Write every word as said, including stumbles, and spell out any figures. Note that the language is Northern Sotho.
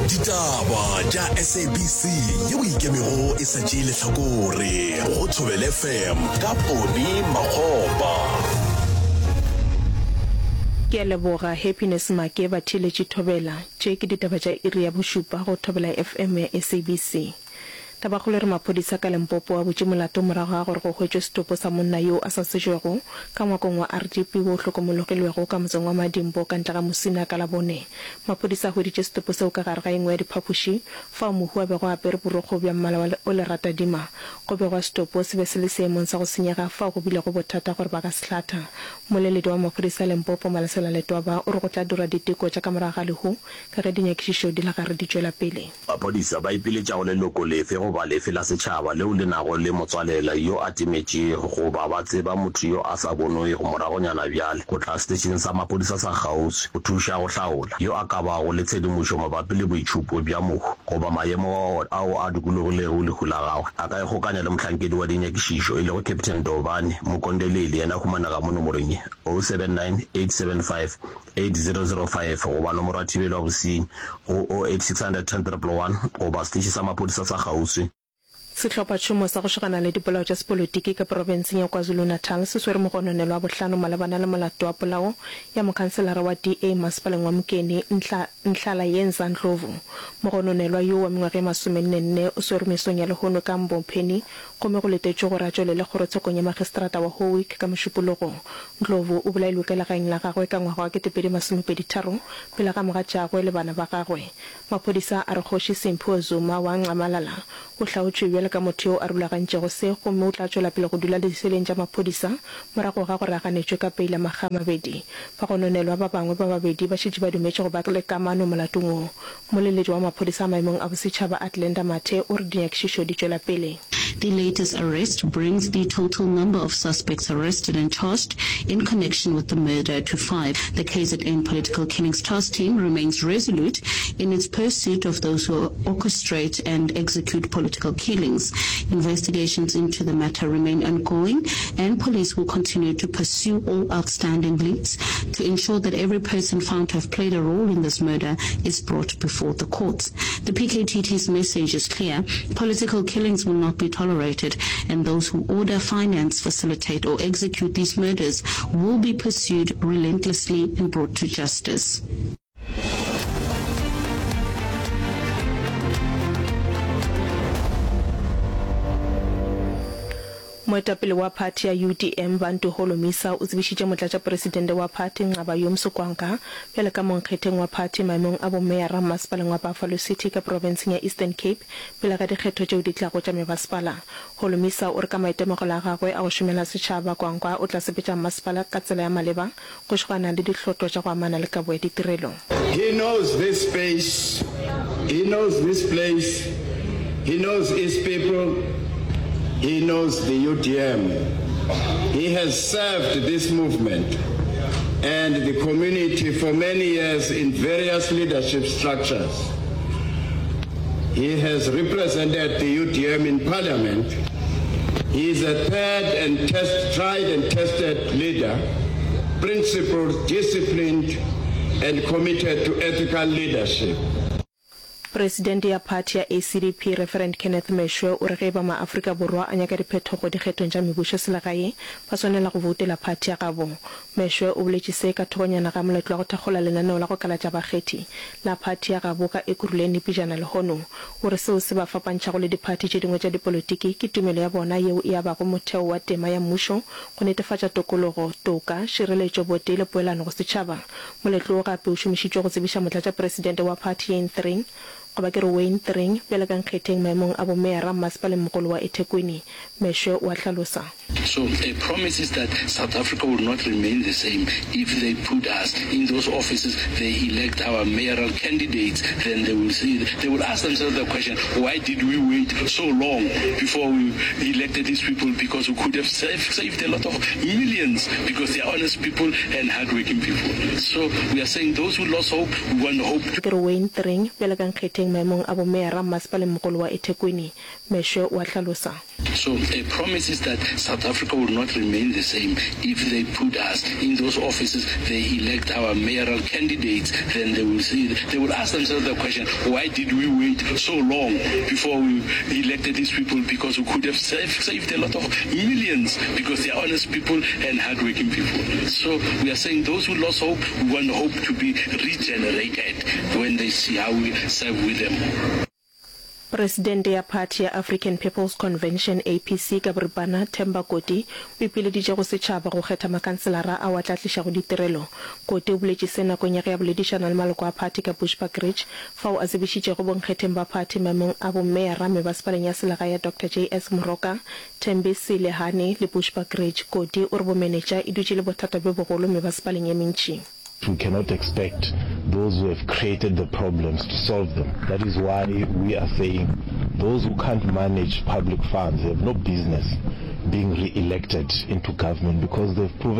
Ditaba tša S A B C yeo ikemego e sa tšee lehlakore go Thobela F M ka Poni Makgopa. Ke a leboga Happiness Make batheeletši Thobela. Tše ke ditaba tša iri ya bošupa go Thobela F M ya S A B C. Tabakgolo e re maphodisa ka Limpopo a butše molato morago ga gore go hwetšwe setopo sa monna yo a sa tsejwego ka ngwakong wa R D P wo o hlokomologilwego ka motseng wa Madimbo ka ntle ga Musina ka Labone. Maphodisa a hweditše setopo seo ka gare ga engwe ya diphapoši fao mohu a bego a apere borokgo bja mmala wa o leratadima. Go begwa setopo se be se le seemong sa go senyega fao go bilego bothata gore ba ka se hlatha. Mmoleledi wa maphodisa a Limpopo Malesela Letwaba o re go tla dirwa diteko tša ka morago ga lehu ka ge dinyakišišo di le gare di tšwela pele. Maphodisa ba ipiletša go leloko lefe goba lefe la setšhaba leo le nago le motswalela yo a timetšego goba ba tseba motho yo a sa bonwego moragonyana bjale go tla setešeng sa maphodisa sa kgauswi go thuša go hlaola. Yo a ka bago le tshedimošo mabapi le boitšhupo bja mohu goba maemo ao a dikologilego lehu la gagwe a ka ikgokanya le mohlankedi wa dinyakišišo e lego Captain Dobane Mukondeleli, yena a humanega mo nomorong ye, zero seven nine, eight seven five, eight zero zero five goba nomoro ya thibelo ya bosenyi go zero eight six hundred ten triple one goba seteše sa maphodisa sa kgauswi. Sehlophatšhomo sa go šogana le dipolao tša sepolotiki ka profenseng ya KwaZulu-Natal se swere mogononelwa wa bohlano malebana le molato wa polao ya mokhanselara wa D A masepaleng wa Mokene Nhlalayenza Ndlovu. Mogononelwa yo wa mengwaga e masomenne-nne o swerwe mesong ya lehono ka Mbopheni gomme go letetšwe gore a tšwelele kgorotshekong ya magistrata wa Howick ka Mošupologo. Ndlovu o bolailwe ka legaeng la gagwe ka ngwaga wa ketepedi masomepedi tharo pele ga mogatšagwe le bana ba gagwe. Maphodisa a re Kgoši Simphiwe Zuma wa Nxamalala o hlaotšwe bjalo ka motho yo a rulagantšego se gomme o tla tšwela pele go dula diseleng tša maphodisa morago ga gore a ganetšwe ka peila makga a mabedi. Bagononelwa ba bangwe ba babedi ba šetše ba dumetše go ba le kamano molatong wo. Mmoleledi wa maphodisa a maemong a bosetšhaba Athlenda Mathe o re dinyakišišo di tšwela pele. The latest arrest brings the total number of suspects arrested and charged in connection with the murder to five. The K Z N Political Killings Task Team remains resolute in its pursuit of those who orchestrate and execute political killings. Investigations into the matter remain ongoing, and police will continue to pursue all outstanding leads to ensure that every person found to have played a role in this murder is brought before the courts. The P K T T's message is clear: political killings will not be tolerated, and those who order, finance, facilitate, or execute these murders will be pursued relentlessly and brought to justice. Moetapele wa phathi ya U D M Bantu Holomisa o tsebišitše motlatšapresidente wa phathi Nqabayomzi Kwankwa bjalo ka monkgetheng wa phathi maemong a bomeyara mmasepaleng wa Buffalo City ka profenseng ya Eastern Cape pele ga dikgetho tšeo di tlago tša mebasepala. Holomisa o re ka maitemogelo a gagwe a go šomela setšhaba, Kwankwa o tla sepetša mmasepala ka tsela ya maleba go šogana le dihlotlo tša go amana le kabo ya ditirelo. He knows this space, he knows this place, he knows his people, he knows the U D M. He has served this movement and the community for many years in various leadership structures. He has represented the U D M in parliament. He is a third and test, tried and tested leader, principled, disciplined, and committed to ethical leadership. Presidente ya phathi ya A C D P Reverend Kenneth Meshoe o re ge e ba maAfrika Borwa a nyaka diphetogo dikgethong tša mebušoselegae ba swanela go boutela phathi ya gabo. Meshoe o boletše se ka thokonyana ga moletlo wa go thakgola lenaneo la go kalatša bakgethi la phathi ya gabo ka Ekurhuleni pejana lehono. O re seo se ba fapantšhago le diphathi tše dingwe tša dipolotiki ke tumelo ya bona yeo e abago motheo wa tema ya mmušo go netefatša tokologo, toka, šireletšo, botee le poelano go setšhaba. Moletlo wo gape o šomišitšwe go tsebiša motlatšapresidente wa phathi Wayne Thring goba ke re Wayne Thring bjalo ka nkgetheng maemong a bomeyara mmasepaleng mogolo wa eThekwini. Meshoe o a hlalosa. So a promise is that South Africa will not remain the same if they put us in those offices, they elect our mayoral candidates, then they will see, they will ask themselves the question, why did we wait so long before we elected these people? Because we could have saved, saved a lot of millions because they are honest people and hardworking people. So we are saying those who lost hope, we want hope. Ke re Wayne Thring bjalo ka nkgetheng ipiletšeng maemong a bomeyara mmasepalengmogolo wa eThekwini. Meshoe o a hlalosa. So a promise is that South Africa will not remain the same if they put us in those offices, they elect our mayoral candidates, then they will see, they will ask themselves the question, why did we wait so long before we elected these people because we could have saved, saved a lot of millions because they are honest people and hardworking people. So we are saying those who lost hope, we want hope to be regenerated when they see how we serve with them. Presidente ya phathi ya African People's Convention, APC, ka boripana, Themba Koti, o ipileditše go setšhaba go kgetha makhanselara ao a tla tlišago ditirelo. Koti o boletše se nakong ya ge a boledišana le maloko a phathi ka Bushbuckridge, fao a tsebišitšego bonkgetheng ba phathi maemong a bomeyara mebasepaleng ya selegae ya Doctor JS Moroka, Thembisile Hani le Bushbuckridge. Koti o re bomenetša e dutše e le bothata bjo bogolo mebasepaleng ye mentši. We cannot expect those who have created the problems to solve them. That is why we are saying those who can't manage public funds have no business being re-elected into government because they've proven